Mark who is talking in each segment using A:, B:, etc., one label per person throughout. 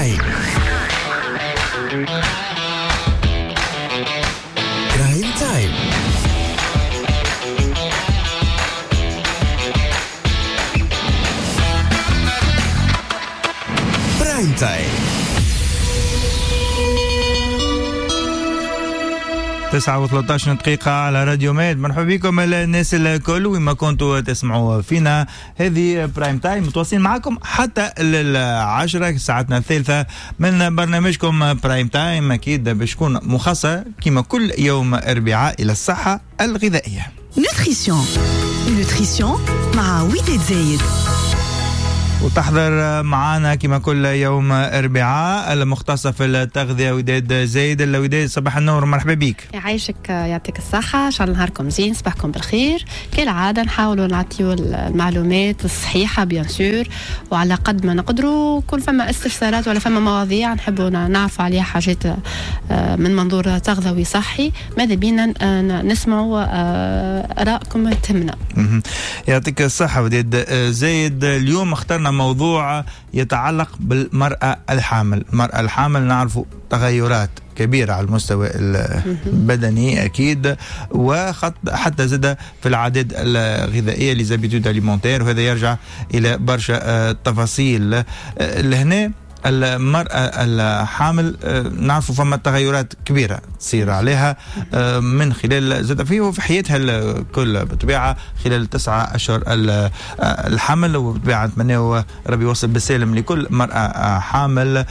A: Time. Prime Time. Prime Time.
B: 9:13 دقيقة على راديو ميد. مرحبا بكم الناس الكل وما كنتوا تسمعوا فينا. هذه Prime Time متواصلين معكم حتى 10 ساعتنا الثالثة من برنامجكم Prime Time، أكيد باش تكون مخصصة كما كل يوم أربعاء إلى الصحة الغذائية.
C: Nutrition Nutrition مع وداد زايد.
B: وتحضر معنا كما كل يوم أربعاء المختصة في التغذية وداد زايد. وداد صباح النور، مرحبا بك.
D: يعيشك، يعطيك الصحة، إن شاء الله نهاركم زين، صباحكم بالخير. كالعادة نحاولوا نعطيو المعلومات الصحيحة bien sûr، وعلى قد ما نقدروا. كل فما استفسارات ولا فما مواضيع نحبوا نعرفوا عليها حاجات من منظور تغذوي صحي، ماذا بينا نسمعوا آرائكم تهمنا.
B: يعطيك الصحة وداد زايد. اليوم اخترنا موضوع يتعلق بالمرأة الحامل. المرأة الحامل نعرف تغيرات كبيرة على المستوى البدني أكيد، وحتى زاد في العادات الغذائية les habitudes alimentaires، وهذا يرجع إلى برشا تفاصيل. لهنا المرأة الحامل نعرف فما تغيرات كبيرة تصير عليها من خلال زاد في حياتها الكل بالطبيعة خلال 9 أشهر الحمل، وبالطبيعة نتمنى ربي يوصل بالسالم لكل مرأة حامل.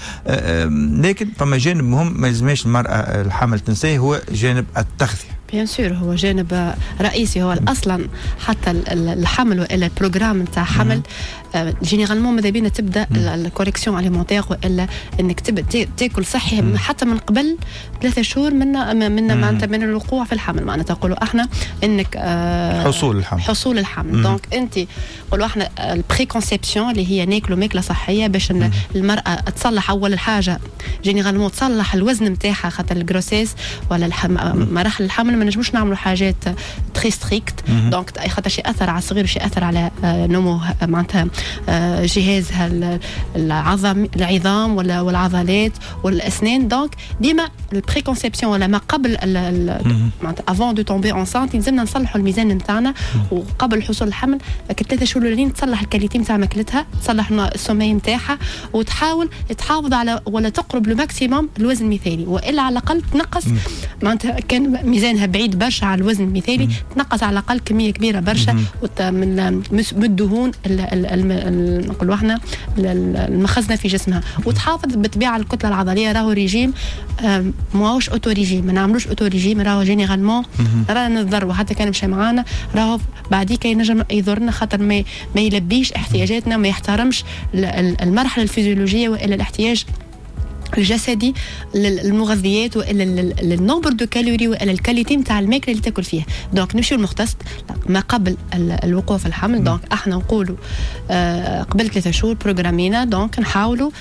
B: لكن فما جانب مهم ما لازمش المرأة الحامل تنساه، هو جانب التغذية.
D: bien sûr هو جانب رئيسي، هو اصلا حتى الحمل والا ال programme نتاع حمل généralement ماذا بينا تبدا ال correction alimentaire، والا انك تبدا تاكل صحي حتى من قبل 3 شهور من معناتها من الوقوع في الحمل. معناتها نقولوا احنا انك
B: حصول الحمل،
D: حصول الحمل. donc انت نقولوا احنا ال préconception اللي هي ناكلوا ماكله صحية باش المراة تصلح اول حاجة généralement تصلح الوزن نتاعها، خاطر ال grossesse ولا مراحل الحمل ما نجموش نعملوا حاجات très strictes. donc خاطر شي اثر على الصغير وشي اثر على نمو معناتها جهازها العظم العظام ولا والعضلات والاسنان. donc ديما ال préconception ولا ما قبل معناتها avant de tomber enceinte لازمنا نصلحوا الميزان نتاعنا، وقبل حصول الحمل 3 شهور الاولين تصلح ال qualité نتاع ماكلتها، تصلح ال sommeil نتاعها، وتحاول تحافظ على ولا تقرب le maximum الوزن المثالي، والا على الاقل تنقص معناتها كان ميزانها بعيد برشا على الوزن المثالي تنقص على الاقل كمية كبيرة برشا من الدهون نقولوا احنا المخزنه في جسمها، وتحافظ بالطبيعة على الكتلة العضلية. راهو ريجيم ماهوش auto-régime، ما نعملوش auto-régime، راهو généralement رانا نضروا حتى كان مشى معانا راهو بعديك ينجم يضرنا، خاطر ما يلبيش احتياجاتنا، ما يحترمش المرحلة الفيزيولوجيه والا الاحتياج الجسدي للمغذيات والا ال nombre de calories والا ال qualité نتاع الماكلة اللي تاكل فيها. donc نمشيو للمختص ما قبل الوقوع في الحمل. donc احنا نقولوا قبل 3 شهور programmينا، donc نحاولوا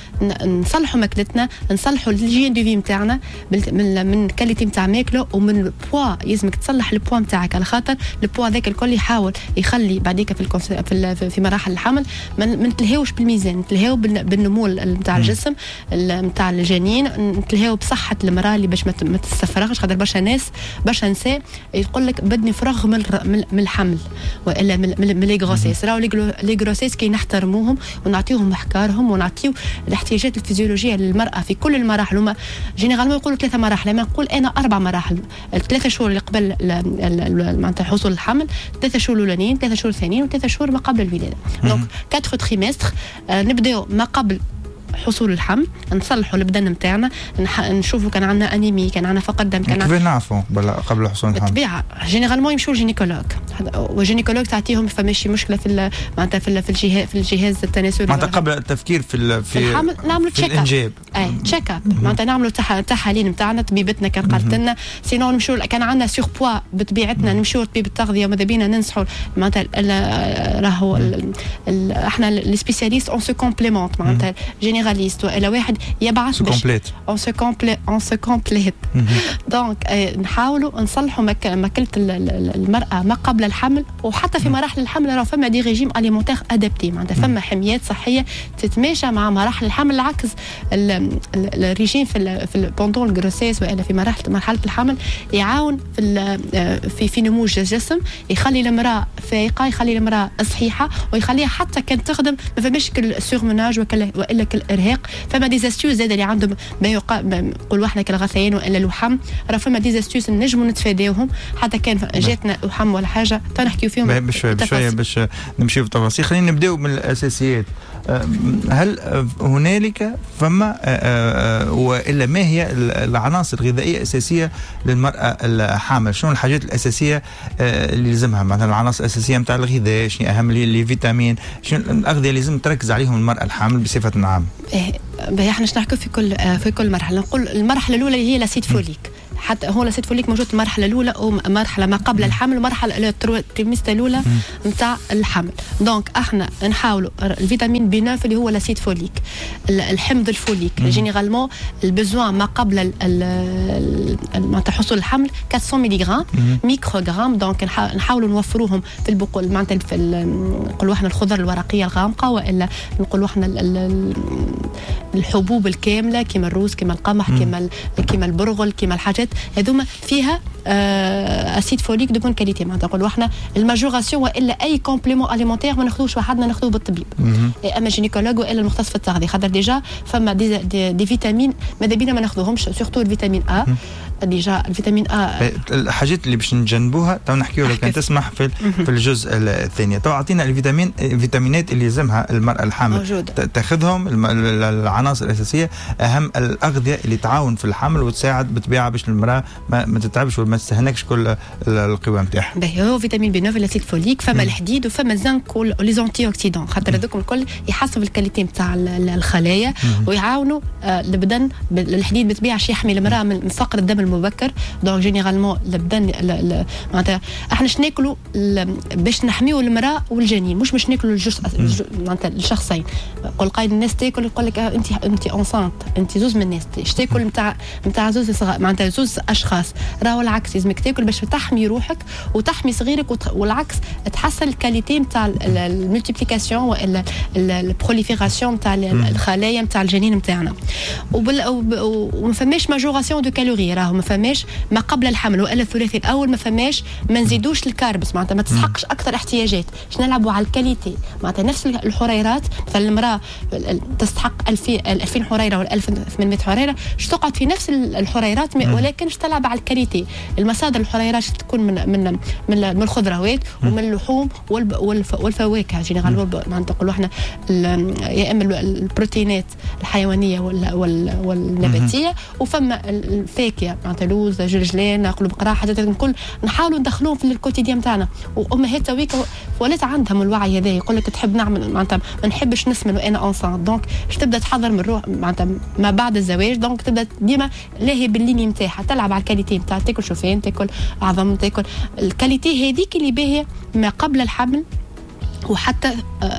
D: نصلحوا ماكلتنا، نصلحوا l'hygiène de vie نتاعنا من qualité نتاع ماكله ومن البوا. يلزمك تصلح البوا نتاعك، على خاطر البوا هذاك الكل يحاول يخلي بعديك في مراحل الحمل ما نتلهاوش بالميزان، نتلهاو بالنمو نتاع الجسم نتاع الجنين، نتلهاو بصحة المرأة اللي باش ما تستفرغش، خاطر برشا ناس برشا نساء يقول لك بدني فرغ من الحمل والا من les grossesses. راهو les grossesses كي نحترموهم ونعطيوهم احكارهم ونعطيو الاحتياجات الفيزيولوجية للمرأة في كل المراحل. هما généralement يقولوا 3 مراحل، لما نقول انا 4 مراحل: 3 شهور اللي قبل معناتها حصول الحمل، 3 شهور الاولانيين، 3 شهور الثانيين، و3 شهور ما قبل الولادة. donc 4 trimestres. نبداو ما قبل حصول الحمل، نصلحوا البدن نتاعنا، نشوفوا كان عندنا انيمي، كان عندنا فقر دم، كان
B: كيف نعرفوا قبل حصول الحمل؟
D: بالطبيعة généralement يمشوا لل gynécologue، وال gynécologue تعطيهم فماشي مشكلة في معناتها في الجهاز التناسلي،
B: معناتها قبل التفكير في
D: الحمل نعملوا
B: check up،
D: اي check up معناتها نعملوا تحاليل نتاعنا، طبيبتنا كان قالت لنا sinon نمشوا كان عندنا surpoids بطبيعتنا نمشوا لطبيب التغذية، وماذا بينا ننصحوا معناتها راهو احنا les spécialistes on se complémente، معناتها généraliste والا واحد يبعث
B: باش
D: on se complète. donc نحاولوا نصلحوا ماكله المراة ما قبل الحمل، وحتى في مراحل الحمل راه فما des régimes alimentaires adaptés، معناتها فما حميات صحية تتماشى مع مراحل الحمل. العكس الريجيم في pendant ال grossesse والا في مرحلة الحمل يعاون في نمو الجسم، يخلي المراة فايقه، يخلي المراة صحيحه، ويخليها حتى كان تخدم ما فماش كل surmenage والا كل ارهاق. فما des astuces زاد اللي عندهم ما نقولوا احنا كالغثيان والا الوحم، راه فما des astuces نجموا نتفاداوهم حتى كان جاتنا وحم ولا حاجة تنحكيو فيهم
B: بشوية بشوية باش نمشيو في التفاصيل. خلينا نبداو من الاساسيات. هل هنالك فما والا ما هي العناصر الغذائية الاساسية للمراة الحامل؟ شنو الحاجات الاساسية اللي لازمها؟ مثلا العناصر الاساسية نتاع الغذاء، شنو اهم les vitamines، شنو الاغذية اللي لازم تركز عليهم المراة الحامل بصفة عامة؟
D: باهي، احنا نحكوا في كل مرحله. نقول المرحلة الاولى هي l'acide folique، حتى هو l'acide folique موجود المرحلة الاولى ومرحلة ما قبل الحمل ومرحلة ال trimestre الاولى نتاع الحمل. donc احنا نحاولوا ال vitamine B9 اللي هو l'acide folique، الحمض الفوليك، généralement ال besoin ما قبل معناتها حصول الحمل 400 ملغ microgrammes. donc نحاولوا نوفروهم في البقول، معناتها في نقولوا احنا الخضر الورقية الغامقه، والا نقولوا احنا الحبوب الكاملة كما الروز، كما القمح، كما البرغل، كما الحاجات هذوما فيها acide folique de bonne qualité. معناتها نقولوا احنا ال majoration والا اي complément alimentaire ما ناخذوش وحدنا، ناخذوه بالطبيب، اما gynécologue والا المختص في التغذيه، خاطر déjà فما des vitamines ماذا بينا ما ناخذوهمش، surtout ال vitamine A، déjà ال vitamine A.
B: الحاجات اللي باش نجنبوها تو نحكيو لو كان تسمح في الجزء الثاني. تو اعطينا الفيتامينات اللي يلزمها المراة الحامل
D: موجودة.
B: تاخذهم، العناصر الاساسيه، اهم الاغذية اللي تعاون في الحمل وتساعد بالطبيعة باش المراة ما تتعبش وما تستهلكش كل القوى نتاعها.
D: باهي، هو vitamine B9، l'acide folique، فما الحديد وفما الزنك و les antioxydants، خاطر هذوك الكل يحسنوا ال qualité نتاع الخلايا ويعاونوا البدن. الحديد بالطبيعة يحمي المراة من فقر الدم المبكر. donc généralement البدن معناتها احنا باش ناكلوا باش نحميو المراة والجنين، مش باش ناكلوا الجزء معناتها الشخصين. قول قايد الناس تاكل، يقول لك انت enceinte، انت زوز من الناس ايش تاكل نتاع زوز صغار، معناتها زوز اشخاص. راهو العكس، لازمك تاكل باش تحمي روحك وتحمي صغيرك، والعكس تحسن ال qualité نتاع ال multiplication والا ال prolifération نتاع الخلايا نتاع الجنين نتاعنا. وما فماش majoration de calories، راهو ما فماش ما قبل الحمل والا الثلاثي الاول، ما فماش، ما نزيدوش ال carbs، معناتها ما تسحقش اكثر احتياجات، باش نلعبوا على ال qualité، معناتها نفس الحريرات. مثلا المراة تستحق 2000 2000 حريره ولا 1800 حريره، باش تقعد في نفس الحريرات ولكن باش تلعب على ال qualité. المصادر الحريرات تكون من الخضروات ومن اللحوم والفواكه généralement، معناتها نقولوا احنا يا اما البروتينات الحيوانية والنباتيه، وفما الفاكهه، معناتها لوز، جلجلان، قلوب قراع، حاجات الكل نحاولوا ندخلوهم في ال quotidien نتاعنا. وامهات تويك ولات عندهم الوعي هذا، يقول لك تحب نعمل معناتها ما نحبش نسمن وانا enceinte، donc باش تبدا تحضر من روح معناتها ما بعد الزواج، donc تبدا ديما لاهي بال ligne نتاعها، تلعب على ال qualité نتاع تاكل شوفان، تاكل عظم، تاكل ال qualité هذيك اللي باهيه ما قبل الحمل وحتى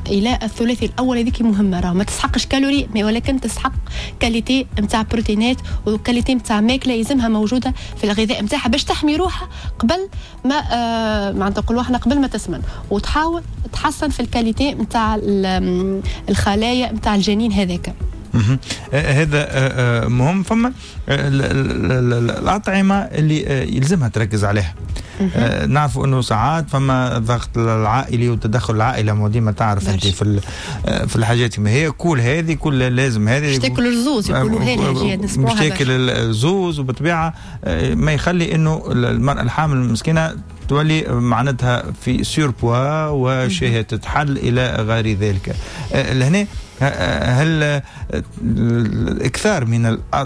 D: الى الثلاثي الاول. هذيك مهمه، راه ما تسحقش calories ولكن تسحق qualité نتاع بروتينات و qualité نتاع ماكله يلزمها موجودة في الغذاء نتاعها باش تحمي روحها قبل ما معناتها نقولوا احنا قبل ما تسمن، وتحاول تحسن في ال qualité نتاع الخلايا نتاع الجنين هذاك.
B: هذا مهم. فما الأطعمة اللي يلزمها تركز عليها. نعرفوا انه ساعات فما ضغط العائلي وتدخل العائله، ما ديما تعرف انت في الحاجات ما هي كل هذه كل لازم هذه
D: مش تاكل الزوز، يقولوها لها.
B: مش تاكل الزوز، وبالطبيعه ما يخلي انه المراة الحامل المسكينة تولي معناتها في surpoids وشهية تتحل الى غير ذلك. لهنا هل الاكثار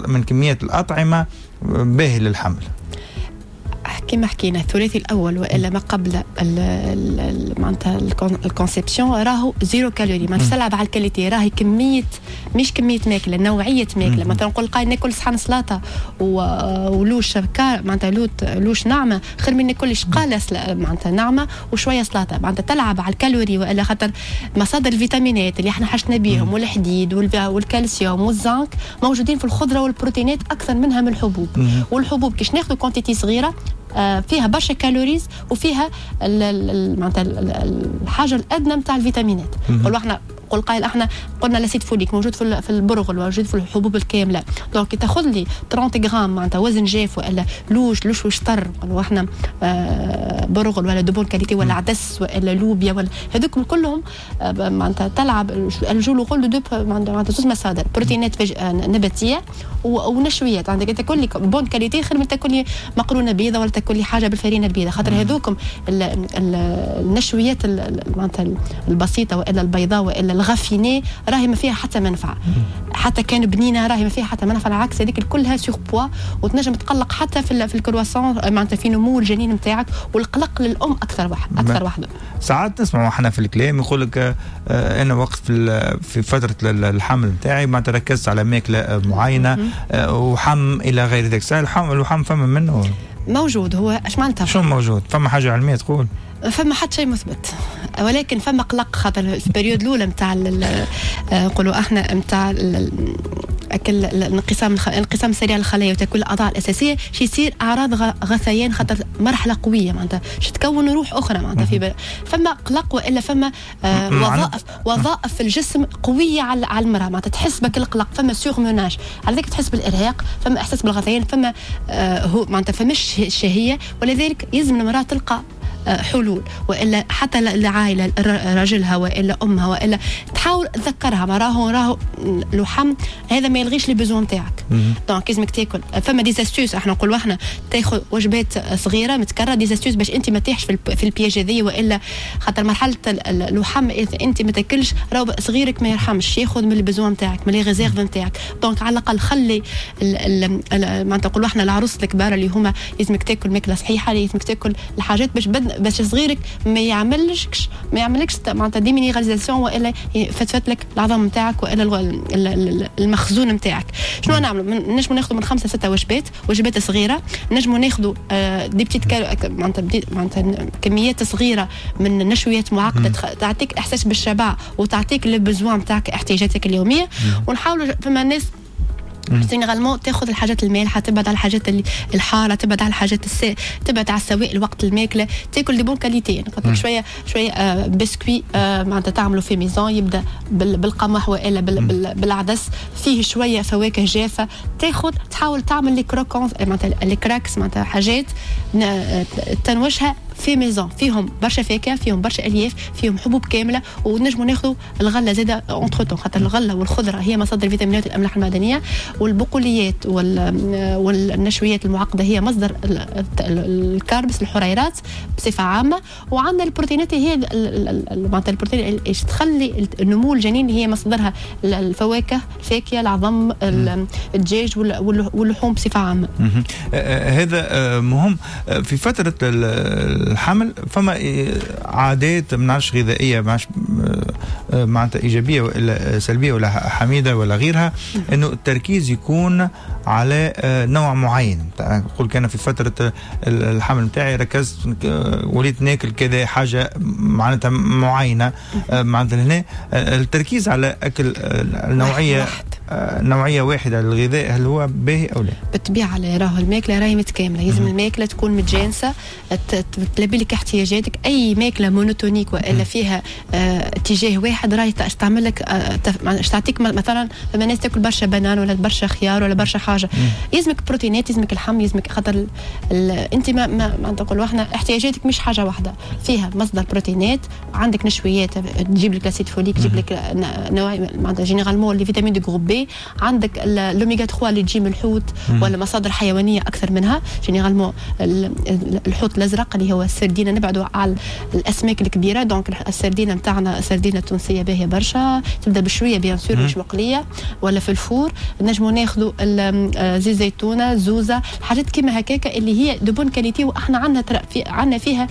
B: من كمية الاطعمة باهي للحمل؟
D: كما حكينا، الثلاثي الاول والا ما قبل معناتها ال conception راهو zéro calorie، ما تلعب على ال qualité، راهي كمية مش كمية ماكله، نوعية ماكله. مثلا نقول قايل ناكل صحن سلطة ولوش معناتها louche ناعمة خير من ناكل شقاله معناتها ناعمة وشوية سلطه، معناتها تلعب على الكالوري. والا خاطر مصادر الفيتامينات اللي احنا حاجتنا بيهم والحديد والكالسيوم والزنك موجودين في الخضرة والبروتينات اكثر منها من الحبوب. والحبوب كيش ناخذ quantité صغيرة. فيها برشا calories وفيها معناتها الحاجة الادنى نتاع الفيتامينات. نقولوا احنا، قول قائل احنا قلنا l'acide folique موجود في البرغل، موجود في الحبوب الكامله. donc تاخذ لي 30 غرام معناتها وزن جاف والا لوش لوش وشطر، نقولوا احنا برغل ولا de bonne qualité ولا عدس ولا لوبيا ولا هذوك كلهم، معناتها تلعب joue le rôle de معناتها زوج مصادر بروتينات نباتيه ونشويات. عندك تاكل لي bonne qualité خير من تاكل لي مقرونة بيضاء ولا تاكل لي حاجة بالفرينه البيضاء، خاطر هذوكم النشويات معناتها البسيطة والا البيضاء والا ال raffinée راهي ما فيها حتى منفعه، حتى كان بنينه راهي ما فيها حتى منفعه، العكس هذيك كلها surpoids وتنجم تقلق حتى في ال croissance معناتها في نمو الجنين نتاعك، والقلق للام اكثر واحد اكثر واحده.
B: ساعات نسمعوا احنا في الكلام يقول لك انا وقت في فترة الحمل نتاعي ما تركزت على ماكله معينة وحم الى غير ذلك. الوحم فما منه؟
D: موجود. هو اش معناتها؟
B: شو موجود؟ فما حاجة علمية تقول؟
D: فما حتى شيء مثبت، ولكن فما قلق خاطر في ال période الاولى نتاع نقولوا احنا نتاع اكل الانقسام السريع للخلايا وتاكل الاعضاء الاساسيه، شي يصير اعراض غثيان، خاطر مرحلة قوية معناتها شي تكون روح اخرى معناتها في فما قلق والا فما وظائف في الجسم قوية على المراة، معناتها تحس بك القلق، فما surmenage، على ذلك تحس بالارهاق، فما احساس بالغثيان، فما هو معناتها فماش شهيه، ولذلك يلزم المراة تلقى حلول، والا حتى العائلة راجلها والا امها والا تحاول تذكرها ما راهو الوحم هذا ما يلغيش les besoins نتاعك. donc لازمك تاكل. فما des astuces، احنا نقولوا احنا تاخذ وجبات صغيرة متكررة، des astuces باش انت ما تطيحش في ال piège هذه، والا خاطر مرحلة الوحم اذا انت ما تاكلش راهو صغيرك ما يرحمش، ياخذ من ال besoins نتاعك، من les réserves نتاعك. donc على الاقل خلي معناتها نقولوا احنا العروس الكبار اللي هما لازمك تاكل ماكله صحيحه، لازمك تاكل الحاجات باش صغيرك ما يعملكش معناتها déminéralisation والا يفتفت لك العظم نتاعك والا المخزون نتاعك. شنو نعملوا؟ نجموا ناخذوا من 5 6 وجبات، وجبات صغيره، نجموا ناخذوا des petites معناتها كميات صغيرة من نشويات معقدة تعطيك احساس بالشبع وتعطيك les besoins نتاعك، احتياجاتك اليوميه. ونحاولوا، فما ناس généralement تاخذ الحاجات المالحه، تبعد على الحاجات اللي الحاره، تبعد على الحاجات تبعد على السوائل وقت الماكله، تاكل de bonne qualité. يعني قلت لك شوية شوية بسكوي معناتها تعملوا fait maison، يبدا بالقمح والا بالعدس، فيه شوية فواكه جافه، تاخذ تحاول تعمل les croquants معناتها les cracks، معناتها حاجات تنوشها fait maison، فيهم برشا فاكهه، فيهم برشا الياف، فيهم حبوب كامله، ونجموا ناخذوا الغلة زاده entre-temps، خاطر الغلة والخضره هي مصادر الفيتامينات والاملاح المعدنيه، والبقوليات والنشويات المعقدة هي مصدر ال carbs، الحريرات بصفة عامه. وعندنا البروتينات هي معناتها البروتين اللي تخلي النمو الجنين، هي مصدرها الفواكه، الفاكهه، العظم، الدجاج واللحوم بصفة عامه.
B: هذا مهم. في فترة الحمل فما عادات ما نعرفش غذائيه، ما معناتها ايجابية ولا سلبية ولا حميده ولا غيرها، انه التركيز يكون على نوع معين. نقول كان في فترة الحمل نتاعي ركزت وليت ناكل كذا حاجة معناتها معينه، معناتها هنا التركيز على اكل النوعية نوعية واحدة للغذاء، هل هو باهي او لا؟
D: بالطبيعه، راهو الماكلة راهي متكامله، لازم الماكلة تكون متجانسة تلبي لك احتياجاتك. اي ماكله monotonique والا فيها اتجاه واحد راهي تعمل لك تعطيك، مثلا فما ناس تاكل برشا banane ولا برشا خيار ولا برشا حاجه. يلزمك بروتينات، يلزمك اللحم، يلزمك خاطر انت ما نقولوا احنا احتياجاتك مش حاجة واحده، فيها مصدر بروتينات، عندك نشويات تجيب لك l'acide folique، تجيب لك نوع معناتها généralement les vitamines du groupe B، عندك الاوميغا 3 اللي تجي من الحوت ولا مصادر حيوانية اكثر منها، généralement الحوت الازرق اللي هو السردينه، نبعدوا على الاسماك الكبيره. donc السردينه نتاعنا، السردينه التونسية باهيه برشا، تبدا بشوية bien sûr، مش مقلية ولا في ال four. نجموا ناخذوا زيت زيتونه، زوزه، حاجات كيما هكاكا اللي هي de bonne qualité، واحنا عندنا فيها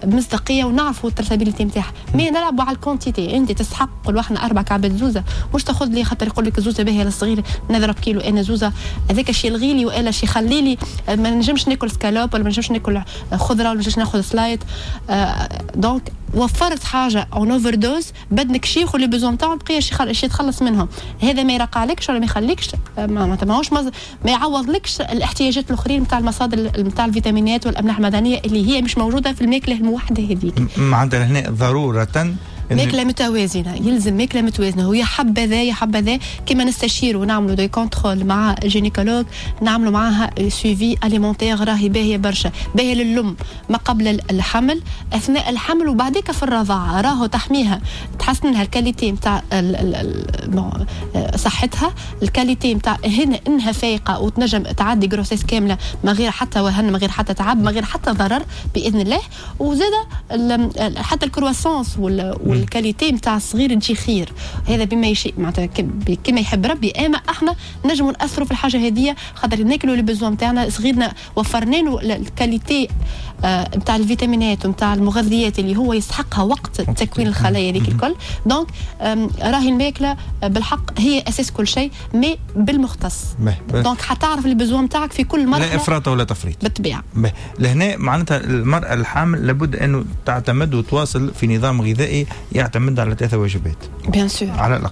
D: مصداقية ونعرفوا ال traçabilité نتاعها. mais نلعبوا على ال quantité. انت تستحق قولوا احنا 4 كعبات زوزه، مش تاخذ لي خاطر يقول لك الزوزه باهيه للصغير نضرب كيلو انا زوزه، هذاك الشيء الغيلي والا شيء يخلي لي ما نجمش ناكل سكالوب ولا ما نجمش ناكل خضرة ولا ما نجمش ناخذ سلايط. Donc وفرت حاجة en overdose، بدنك شيخ و les besoins نتاعو بقية شي يتخلص منهم. هذا ما يرقعلكش ولا ما يخليكش، معناتها ماهوش ما يعوضلكش الاحتياجات الاخرين نتاع المصادر نتاع الفيتامينات والاملاح المعدنية اللي هي مش موجودة في الماكلة الموحدة هذيك.
B: معناتها هنا ضرورة
D: ماكله متوازنه، يلزم ماكله متوازنه، هو يا حبذا يا حبذا كما نستشيروا ونعملوا des contrôles مع gynécologue، نعملوا معاها suivi alimentaire، راهي باهيه برشا، باهيه للام ما قبل الحمل، اثناء الحمل، وبعديك في الرضاعه. راهو تحميها، تحسن لها ال qualité نتاع صحتها، ال qualité نتاع هنا انها فايقه وتنجم تعدي grossesse كاملة ما غير حتى وهن، ما غير حتى تعب، ما غير حتى ضرر باذن الله. وزاد حتى ال croissance وال qualité نتاع الصغير تجي خير. هذا بما يشيء، معناتها كما يحب ربي، اما احنا نجموا ناثروا في الحاجة هذه خاطر ناكلوا les besoins نتاعنا. صغيرنا وفرنا له ال qualité نتاع الفيتامينات ونتاع المغذيات اللي هو يستحقها وقت تكوين الخلايا هذيك الكل. donc راهي الماكلة بالحق هي اساس كل شيء، mais بالمختص، donc حتعرف les besoins نتاعك في كل مرحله.
B: لا افراط ولا تفريط.
D: بالطبيعه.
B: لهنا معناتها المراة الحامل لابد انه تعتمد وتواصل في نظام غذائي يعتمد على ثلاثة وجبات.
D: bien sûr.
B: على الاقل.